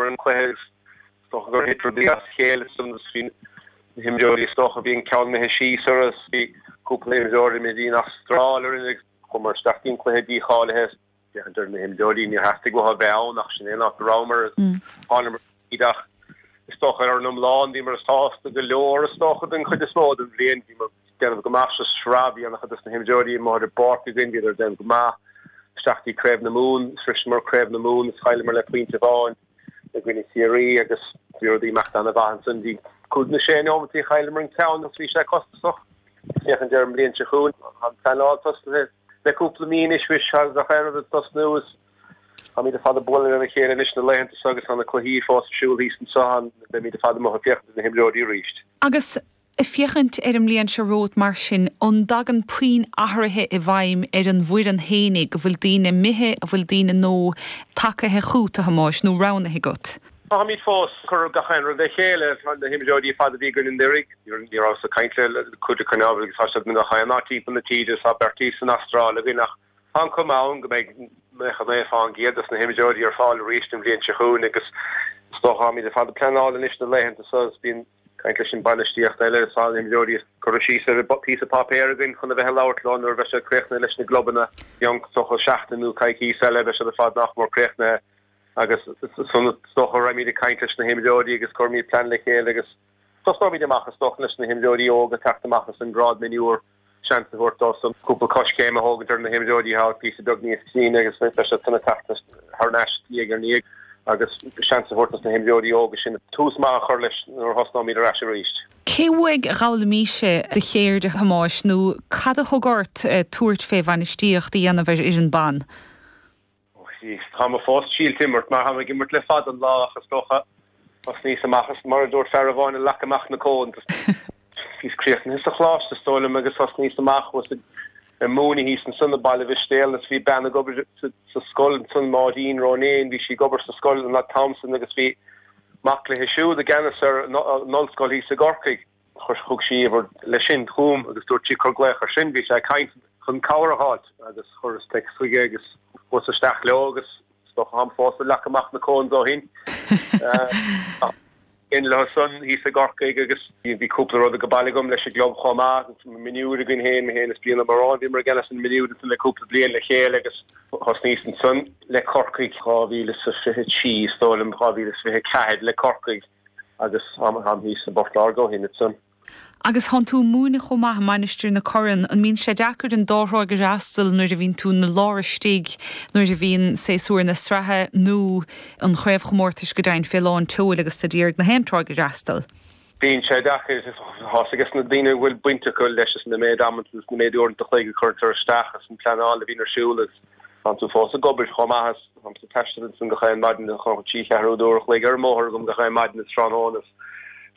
Chailleamar an cluiche agus is dócha gur thit rudaí as a chéile ansan agus bhí na himreoirí is dócha bhí an ceann imithe síos orthu agus bhí cúpla imreoir imithe dtí an Astráil orainn agus chuamar isteach dtí an cluiche dícháilithe. Féachaint ar na himreoirí, níor theastaigh uathu a bheith ann ach sin é an áit a rabhamar agus thánamar tríd ach is dócha ar an iomlán bhíomar sásta go leor is dócha den chuid is mó den bhliain. Bhíomar ag déanamh go maith sa sraith, bhí an-chuid dos na himreoirí amuigh ar an bpáirc againn, bhíodar ag déanamh go maith. Isteach dtí Craobh na Mumhan, shroiseamar Craobh na Mumhan is chailleamar le pointe amháin i gcoinne Chiarraí agus bhí rudaí ag imeacht an-mhaith ansan. Bhí cúig nó sé neomat chailleamar an ceann agus bhí sé costasach. Féachaint ar an mbliain seo chugainn, tá an pleanáil tosnaithe. Le cúpla mí anois mhuis tá gach aon rud ag tosnú is táimid ar fad ag bualadh lena chéile anois na laethanta seo agus tá na cluichí fós ar siúl thíos anseo. Beimid ar fad amuigh ag féachaint ar na himreoirí arís. Agus ag féachaint ar an mbliain seo romhat mar sin, an dtagann puinn athruithe i bhfeidhm ar an bhfoireann fhéinig? An bhfuil daoine imithe, an bhfuil daoine nua tagaithe chugat, a Thomáis, nó roghnaithe agat? Táimid fós ag cur gach aon rud le chéile. Tá na himreoirí ar fad a bhí againn anuraidh, ní rabhas ag caint le cuid acu agus tá siad i ngach aon áit timpeall na tíre, tá beirt thíos san Astráil againn ach tá an chuma ann go mbeidh 99% dos na himreoirí ar fáil arís an bhliain seo chugainn agus is dócha táimid ar fad ag pleanáil anois na laethanta seo agus bíonn caint leis an bainistíocht eile is tá na himreoirí curtha síos ar phíosa páipéir againn chun a bheith ag labhairt leo nuair a bheidh siad críochnaithe leis na gclubanna. I gcionn is dócha seachtain nó coicís eile beidh siad ar fad nach mór críochnaithe. Agus ansan is dócha raghaimid ag caint leis na himreoirí agus cuirfimid plean le chéile agus tosnóimid amach is dócha leis na himreoirí óga teacht amach as an ngrád mionúr, seans a thabhairt dóibhsan cúpla coiscéim a thógaint ar na himreoirí atá píosa beag níos críonna agus beidh siad san ag teacht thar n-ais diaidh ar ndiaidh agus seans a thabhairt dos na himreoirí óga sin tús maith a chur leis nuair a thosnóimid ar ais arís. Cé uaidh a dh'fhoghlaimís-se do cheird, a Thomáis, nó cad a thug ort tabhairt fé bhainistíocht a dhéanamh ar fhoireann ban? Tá mé fós ag triail imirt mar táim ag imirt le fada an lá ach is dócha thosnaíos amach is mar a dúirt fear amháin ag leac amach na cones. Bhíos críochnaithe sa choláiste is dóigh liom agus thosnaíos amach thuas ag múineadh thíos ansan i Baile Mhistéal agus bhí bean ag obair sa scoil ansan Máirín Ronayne bhí sí ag obair sa scoil an t-am san agus bhí mac léi siúd i gceannas ar an ollscoil thíos i gCorcaigh. Chuir, thug sí uimhir leis sin chugam agus dúirt sí cuir glaoch ar sin, bhí sé ag caint chun cabhair a fháilt agus chuireas text chuige agus chuas isteach leo agus is dócha táim fós ag leac amach na cones ó shin. In leo san thíos i gCorcaigh agus bhí cúpla rud ag baile agam leis an gclub chomh maith, mionúir againn féin, mé féin is Brian Ó Móráin, bhíomar i gceannas an mionúir ansan le cúpla bliain le chéile agus thosnaíos ansan le Corcaigh 2023 is dóigh liom, 2024 le Corcaigh. Agus táim thíos i bPort Láirge ó shin ansan. Agus thánn tú ag múineadh chomh maith i Mainistir na Corann. An mbíonn sé deacair an dá thráigh a fhreastal nuair a bhíonn tú ina lár istigh, nuair a bhíonn séasúr na sraithe nó an chraobhchomórtais go deimhin fé lán tseoil agus tú d'iarraidh na haon tráigh a fhreastal? Bíonn sé deacair. Tá's ages na daoine a bhfuil baint acu leis is na méid amanta is na méid uaireanta a chloig a chuirtear isteach is an pleanáil a bhíonn ar siúl agus Tánn tú fós ag obair chomh maith is táimse ag taisteal ansan gach aon maidin, trí cheathrú d'uair a chloig ar an mbóthar agam gach aon maidin is tráthnóna is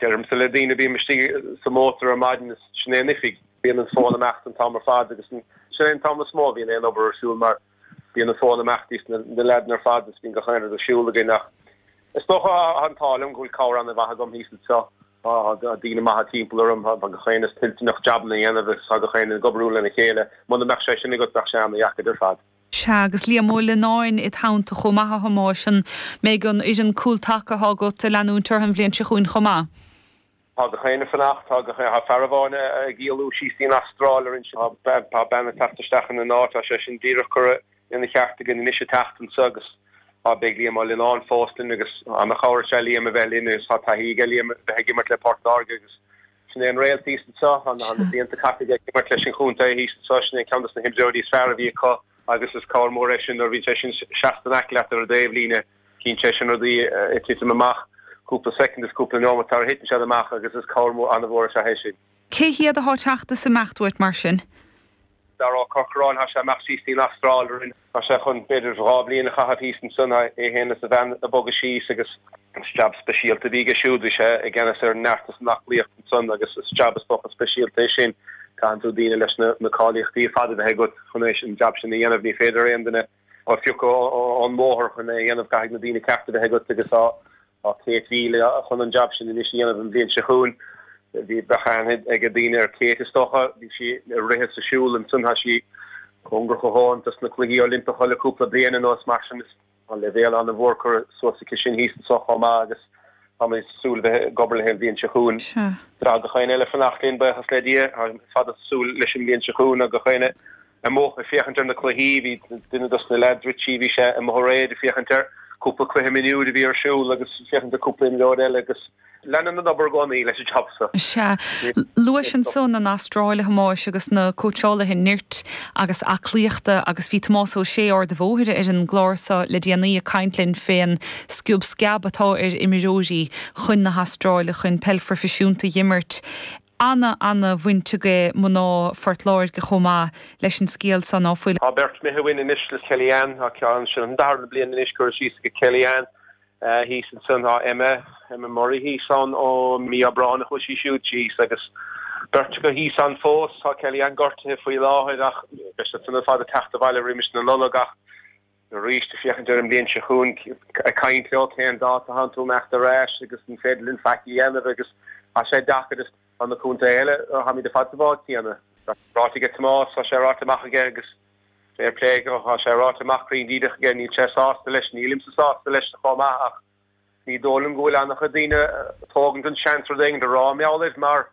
deirimse le daoine bím istigh sa mótar ar maidin is sin é an oifig. Bíonn an fón ag imeacht an t-am ar fad agus sin é an t-am is mó a bhíonn aon obair ar siúl mar bíonn an fón ag imeacht thíos na leaideanna ar fad is bíonn gach aon rud ar siúl againn ach is dócha tá an t-ádh liom go bhfuil cabhair an-mhaith agam thíos anseo. Tá daoine maithe timpeall orm, tá gach éinne toilteanach jabanna a dhéanamh agus tá gach éinne ag oibriú lena chéile. Muna mbeadh sé sin agat bheadh sé ana-dheacair ar fad. Sea, agus Liam Ó Lionáin id theannta chomh maith a Thomáis, an mbeidh an fhoireann cúl taca atá agat ag leanúint orthu an bhliain seo chugainn chomh maith? Tá gach éinne ag fanacht, tá gach éinne, tá fear amháin ag éalú síos dtí an Astráil ar an, tá bean ag teacht isteach ina n-áit, tá sé sin díreach curtha ina cheart againn anois an tseachtain seo agus tá beidh Liam Ó Lionáin fós linn agus ana-chabhair is ea Liam a bheith linn agus tá taithí aige Liam a bheith ag imirt le Port Láirge agus sin é an réalt thíos anseo, tá na blianta caite aige ag imirt leis an chontae thíos anseo, sin é ceann dos na himreoirí is fearr a bhí acu agus is cabhair mór é sin nuair a bhíonn sé sin seasta in aice leat ar an dtaobhlíne, cíonn sé sin rudaí ag titim amach cúpla soicind is cúpla neomat sara thiteann siad amach agus is cabhair mór an-mhór is ea é sin. Cé hiad atá ag teacht is ag imeacht uait mar sin? Dara Ó Corcoráin, tá sé ag imeacht síos dtí an Astráil orainn. Tá sé chun, b'fhéidir, 2 bhliain a chaitheamh thíos ansan, é féin is a bhean ag bogadh síos agus is jab speisialta a bhí aige siúd, bhí sé i gceannas ar neart is an aclaíocht ansan agus is jab is dócha speisialta é sin. Caitheann tú daoine leis na cáilíochtaí ar fad a bheith agat chun é an jab sin a dhéanamh, ní féidir aon duine a phiocadh ón mbóthar chun é a dhéanamh, caithfidh na daoine cearta a bheith agat agus tá Tá Kate Veale chun an jab sin anois a dhéanamh an bhliain seo chugainn. Bhí bheadh aithne ag daoine ar Kate is dócha. Bhí sí ag rith is ag siúl ansan. Tá sí cóngarach a dhóthain dos na Cluichí Oilimpeacha le cúpla bliain anuas mar sin is Tá leibhéal an-mhór curtha suas aici sin thíos anseo chomh maith agus táimid ag súil bheith ag obair léi an bhliain seo chugainn. Tá gach éinne eile ag fanacht linn, buíochas le Dia. Táimid ar fad ag súil leis an mbliain seo chugainn agus gach éinne amuigh ag féachaint ar na cluichí. Bhí duine dos na leaids, Richie, bhí sé amuigh aréir ag féachaint ar cúpla cluiche mionúir a bhí ar siúl agus féachaint ar cúpla imreoir eile agus Leanann an obair i gcónaí leis an jab seo. Sea. Luais ansan an Astráil, a Thomáis, agus na cóitseálaithe nirt agus aclaíochta agus bhí Tomás Ó Sé Ard a' Bhóthair ar an gclár seo le déanaí ag caint linn fén sciob sceab atá ar imreoirí chun na hAstráile chun peil phroifisiúnta a dh'imirt. Ana, ana bhaint aige mná Phort Láirge chomh maith leis an scéal seo, ná fuil? Tá beirt imithe uainn anois le Kelly-Anne, tá ceann, sin an darna bliain anois curtha síos aige Kelly-Anne. Thíos ansan tá Emma, Emma Murray thíos ann ó mí Aibreáin a chuaigh sí siúd síos agus beirt acu thíos ann fós. Tá Kelly-Anne gortaithe faoi láthair ach beidh siad san ar fad ag teacht abhaile roimis na Nollag ach arís ag féachaint ar an mbliain seo chugainn ag caint leo cén dáta a thánn tú imeacht ar ais agus an féidir linn faic a dhéanamh agus tá sé deacair is tá na contaetha eile, táimid ar fad sa bhád céanna. Ráite aige Tomás, tá sé ráite amach aige agus Fair play, tá sé ráite amach cruinn díreach aige, níl sé sásta leis, nílimse sásta leis chomh maith ach ní dóigh liom go bhfuil an-chuid daoine ag tógaint an seans rud éigin a rá mar gheall air mar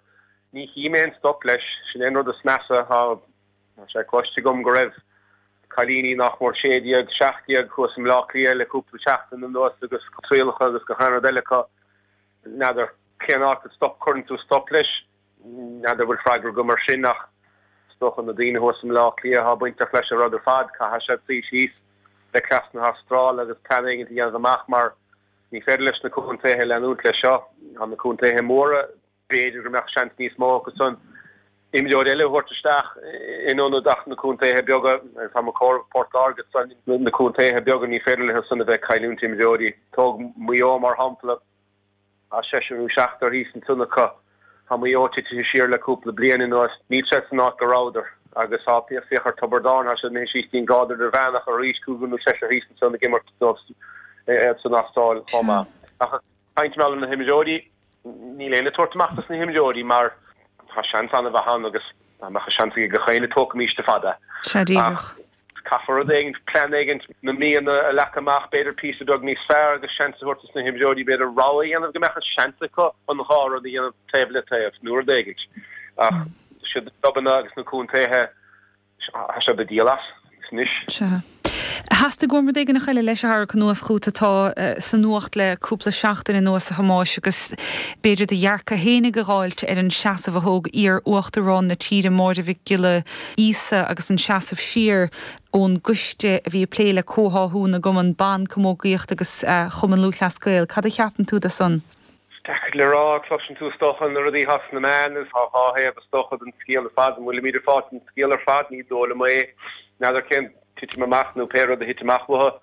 ní chím aon stop leis, sin é an rud is measa, tá sé cloiste agam go raibh cailíní nach mór 16, 17 thuas i mBleá Cliath le cúpla seachtain anuas agus trialacha agus gach aon rud eile acu, n'fheadar cén áit a stop, cuireann tú stop leis. N'fheadar an bhfuil freagra agam ar sin ach is dócha na daoine thuas i mBleá Cliath atá bainteach leis an rud ar fad, caithfidh siad suí síos le cleas na hAstráile agus plean éigin a dhéanamh amach mar ní féidir leis na contaetha leanúint leis seo. Tá na contaetha móra, b'fhéidir go mbeadh seans níos mó acu san imreoir eile a thabhairt isteach in ionad ach na contaetha beaga, agus tá mé ag comhaireamh Port Láirge san, na contaetha beaga ní féidir leo san a bheith ag cailliúint imreoirí. Tóg Maigh Eo mar shampla. Tá seisear nó seachtar thíos ansan acu. Tá Maigh Eo titithe siar le cúpla bliain anuas. Níl siad san áit go rabhadar. Agus tá, féach ar Tiobraid Árann, tá siad imithe síos dtí'n grád idirmheánach arís, cúigear nó seisear thíos ansan ag imirt dóibh san Astráil chomh maith. Ach ag caint mar gheall ar na himreoirí, níl éinne ag tabhairt amach dos na himreoirí mar tá seans an-mhaith ann agus dá mbeadh an seans ag gach éinne tógfaimís ar fad é. Sea díreach. Caithfear rud éigin, plean éigin, na míonna a leagan amach, b'fhéidir píosa beag níos fearr agus seans a thabhairt dos na himreoirí, b'fhéidir rogha a dhéanamh go mbeadh an seans acu an dhá rud a dhéanamh taobh le taobh nó rud éigin. Ach siad na clubanna agus na contaetha, tá siad ag díol as anois. Sea. Theastaigh uaim rud éigin eile leis a tharrac anuas chugat atá sa nuacht le cúpla seachtain anuas, a Thomáis, agus b'fhéidir do dhearcadh fhéinig a dh'fháilt ar an seasamh a thóg iar-uachtarán na tíre, Máire Mhic Giolla Íosa agus an seasamh siar ón gcoiste a bhí ag plé le comhtháthú na gcumann ban, camógaíocht agus Chumann Lúthchleas Gael. Cad a cheapann tú de san? Is deacair le rá. Cloiseann tú is dócha na rudaí atá sna meáin agus tá dhá thaobh is dócha den scéal ar fad. An bhfuilimid ag fáilt an scéal ar fad? Ní dóigh liom é. N'fheadar cén titim amach nó pé rud a thit amach uathu.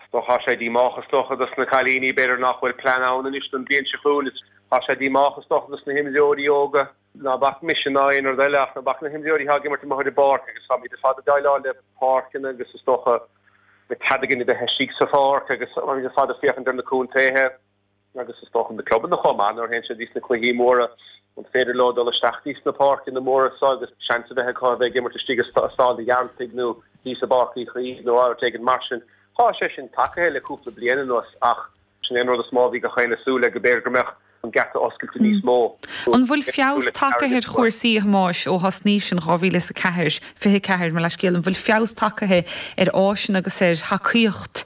Is dócha tá sé díomách is dócha dos na cailíní, b'fhéidir nach bhfuil plean ann anois don bhliain seo chugainn. Tá sé díomách is dócha dos na himreoirí óga. Ná bac mise ná aon rud eile ach ná bac na himreoirí atá ag imirt amuigh ar an bpáirc agus táimid ar fad ag déileáil le páirceanna agus is dócha le cead againn a bheith istigh sa pháirc agus táimid ar fad ag féachaint ar na contaetha agus is dócha na clubanna chomh maith nuair a théann siad dtí sna cluichí móra an féidir leo dul isteach dtí sna páirceanna móra seo agus seans a bheith acu a bheith ag imirt istigh i Staid an Ghearaltaigh nó thíos i bPáirc Uí Chaoimh nó áit éigin mar sin. Tá sé sin tagaithe le cúpla bliain anuas ach Sin é an rud is mó a bhí gach éinne ag súil le, go mb'fhéidir go mbeadh an geata oscailte níos mó. An bhfuil feabhas tagtha ar chúrsaí, a Thomáis, ó thosnaís in 2004, 24, mo leithscéal, an bhfuil feabhas tagtha ar áiseanna agus ar thacaíocht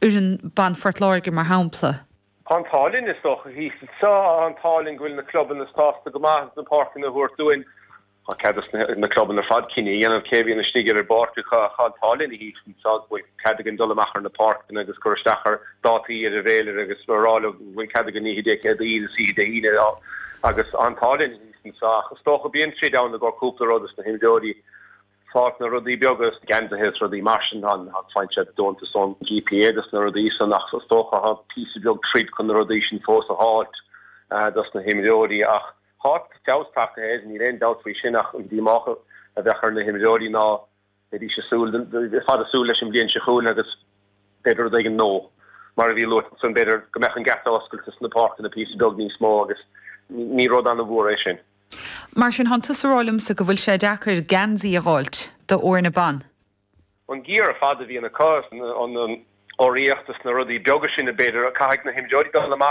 fhoireann ban Phort Láirge, mar shampla? Tá an t-ádh linn, is dócha, thíos anseo, tá an t-ádh linn go bhfuil na clubanna sásta go maith na páirceanna a thabhairt dúinn. Tá cead ag na clubanna ar fad cinneadh a dhéanamh cé a bhíonn istigh ar an bpáirc acu ach tá an t-ádh linn thíos anseo go bhfuil cead againn dul amach ar na páirceanna agus cur isteach ar dátaí ar an bhféilire agus a rá leo go bhfuil cead againn oíche Dé Céadaoin is oíche Dé hAoine agus tá an t-ádh linn thíos anseo ach is dócha bíonn troid ann i gcomhair cúpla rud is na himreoirí fáilt na rudaí beaga is geansaithe is rudaí mar sin tá faigheann siad deontas ón GPA dos na rudaí san ach is dócha tá píosa beag troid chun na rudaí sin fós a dh'fháilt dos na himreoirí ach Tá feabhas tagtha air, níl aon dabht faoi sin ach an díomách a bheadh ar na himreoirí ná bheidís ag súil, ar fad ag súil leis an bhliain seo chugainn agus b'fhéidir rud éigin nó, mar a bhí luaite ansan, b'fhéidir go mbeadh an geata oscailte sna páirceanna píosa beag níos mó agus ní rud an-mhór é sin. Mar sin, thánn tusa a rá liomsa go bhfuil sé deacair geansaí a dh'fháilt do fhoirne ban? An gear ar fad a bhíonn acu, an. urraíocht is na rudaí beaga sin b'fhéidir, caithfidh na himreoirí dul amach.